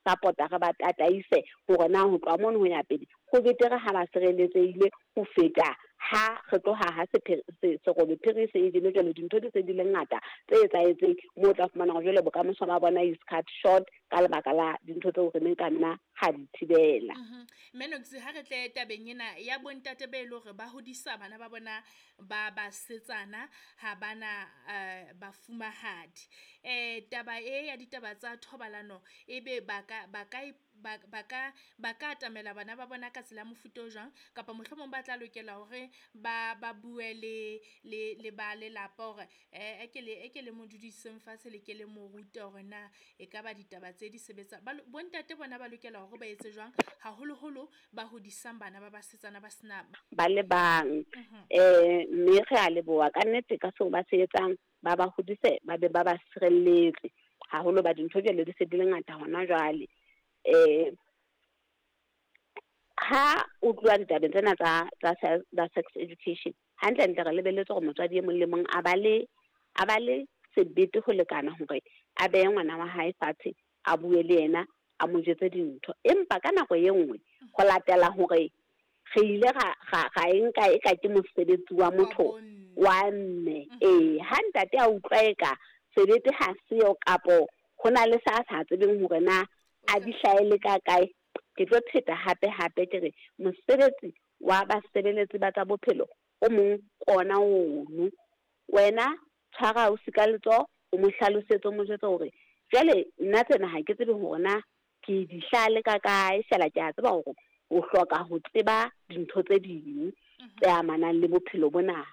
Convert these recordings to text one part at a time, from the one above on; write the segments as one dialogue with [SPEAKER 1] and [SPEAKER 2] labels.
[SPEAKER 1] support-a, re ba tataise hore na ho tloha mono ho ya pele ho betere ha ba sireletsehile ho feta ha re tloha ha serobe phiri se e jele. Jwale dintho di se di le ngata tse etsahetseng moo o tla fumana hore jwale bokamoso ba bona is cut short ka lebaka la dintho tseo re neng ka nna ga di thibela.
[SPEAKER 2] Mme Noksi, ha re tle tabeng ena ya bontate be e le hore ba hodisa bana ba bona ba basetsana, ha bana bafumahadi. Taba e ya ditaba tsa thobalano, ebe ba ka ba ka ba ba ka ba ka atamela bana ba bona ka tsela ya mofuta o jwang? Kapa mohlomong ba tla lokela hore ba bue le ba lelapa hore e ke le mo dudiseng fatshe, le ke le mo rute hore na ekaba ditaba tse di sebetsa. Bontate bona ba lokela hore ba etse jwang, haholoholo ba hodisang bana ba basetsana ba sena
[SPEAKER 1] ba le bang. Mme re a leboha ka nnete ka seo ba se etsang, ba ba hodise, ba be ba ba sireletse haholo ba dintho jwale di se di le ngata hona jwale. Ha o tloha ditabeng tsena tsa sex education, hantle ntle re lebelletse hore motswadi e mong le mong a ba le sebete ho lekana hore a behe ngwana wa hae fatshe, a bue le yena, a mo jwetse dintho. Empa ka nako e nngwe ho latela hore re ile ra e nka e ka ke mosebetsi wa motho wa mme. Ha ntate a utlwa eka sebete ha seo kapo ho na le sa sa tsebeng hore na a di hlaele ka kae, ke tlo pheta hape hape ke re mosebetsi wa basebeletsi ba tsa bophelo o mong kona ono. Wena tshwara ausi ka letsoho, o mo hlalosetse, o mo jwetse hore jwale nna tsena ha ke tsebe hore na ke di hlale ka kae, fela ke a tseba hore o hloka ho tseba dintho tse ding tse amanang le bophelo bona.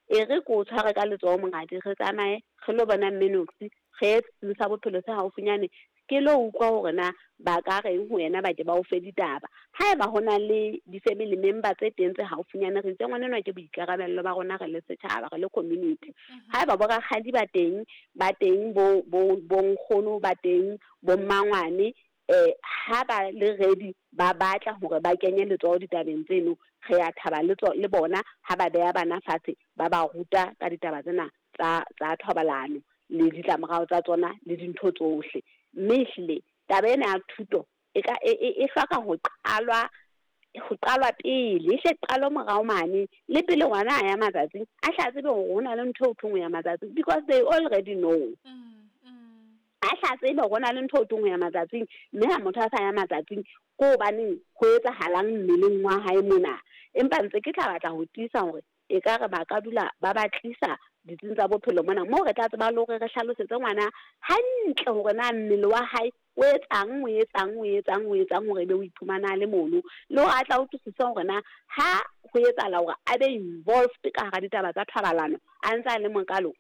[SPEAKER 1] E re ko tshware ka letsoho monghadi, re tsamaye re lo bona mme Noksi, re ye setsing sa bophelo se haufinyane, ke lo utlwa hore na ba ka reng ho yena, ba ke ba o fe ditaba. Haeba ho na le di-family member tse teng tse haufinyane, re itse ngwana enwa ke boikarabello ba rona re le setjhaba, re le community. Haeba bo rakgadi ba teng, ba teng bo nkgono ba teng, bo mmangwane, ha ba le ready ba batla hore ba kenye letsoho ditabeng tseno, re a thaba le bona ha ba beha bana fatshe, ba ba ruta ka ditaba tsena tsa thobalano le ditlamorao tsa tsona le dintho tsohle. Mme ehlile taba ena ya thuto e ka e hloka ho qalwa pele, e hle qalwe morao mane le pele ngwana a ya matsatsing, a hla tsebe hore ho na le ntho eo thweng ho ya matsatsing, because they already know. A hla tsebe hore ho na le ntho eo thweng ho ya matsatsing, mme ha motho a sa ya matsatsing ke hobaneng ho etsahalang mmeleng wa hae mona. Empa ntse ke tla batla ho tiisa hore e ka re ba ka dula ba ba tlisa ditsing tsa bophelo mona, moo re tla tseba le hore re hlalosetse ngwana hantle hore na mmele wa hae o etsang, o etsang, o etsang, o etsang hore ebe o iphumana a le mono, le hore a tla utlwisisa hore na ha ho etsahala hore a be involved ka hara ditaba tsa thobalano a ntse a le mokalo,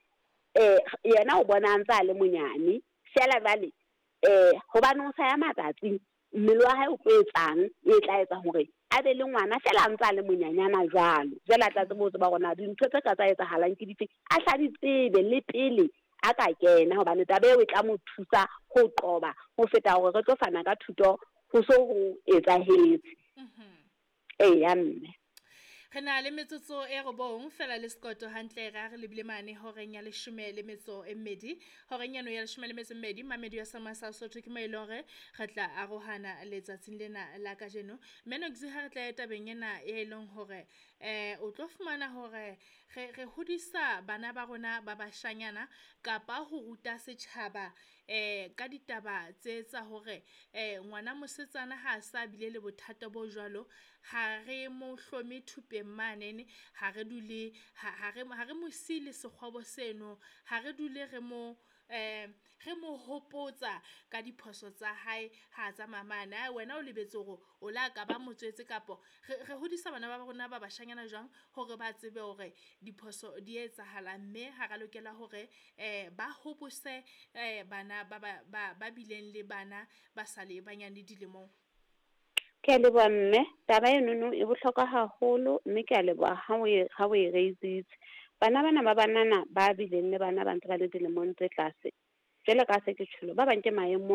[SPEAKER 1] yena o bona a ntse a le monyane fela jwale, hobane o sa ya matsatsing, mmele wa hae o tlo etsang e tla etsa hore a be le ngwana fela a ntse a le monyanyana jwalo. Jwale a tla tsebe ho tseba hore na dintho tse ka tsa etsahalang ke dife, a hla di tsebe le pele a ka kena, hobane taba eo e tla mo thusa ho qoba ho feta hore re tlo fana ka thuto ho so ho etsahetse. Eya mme.
[SPEAKER 2] Re na le metsotso e robong fela le sekoto hantle ra re lebile mane horeng ya 12. Horeng eno ya 12 mamedi ya Sama sa Sotho ke mo e leng hore re tla arohana letsatsing lena la kajeno. Mme Noksi, ha re tla tabeng ena e leng hore o tlo fumana hore re hodisa bana ba rona ba bashanyana kapa ho ruta setjhaba ka ditaba tse tsa hore ngwana mosetsana ha sa bile le bothata bo jwalo, ha re mo hlome thupeng manene, ha re dule ha re mo sile sekgobo seno, ha re dule re mo hopotsa ka diphoso tsa hae ha tsamaya mane. Ai wena o lebetse hore o la ka ba motswetse, kapo re hodisa bana ba rona ba bashanyana jwang hore ba tsebe hore diphoso di etsahala, mme ha ra lokela hore ba hobose bana ba bileng le bana ba sa le banyane dilemong.
[SPEAKER 1] Ke a leboha mme, taba enono e bohlokwa haholo, mme ke a leboha ha o e raisitse. Bana bana ba banana ba bileng le bana ba ntse ba le dilemong tse tlase, jwale ka se ke tjholo, ba bang ke maemong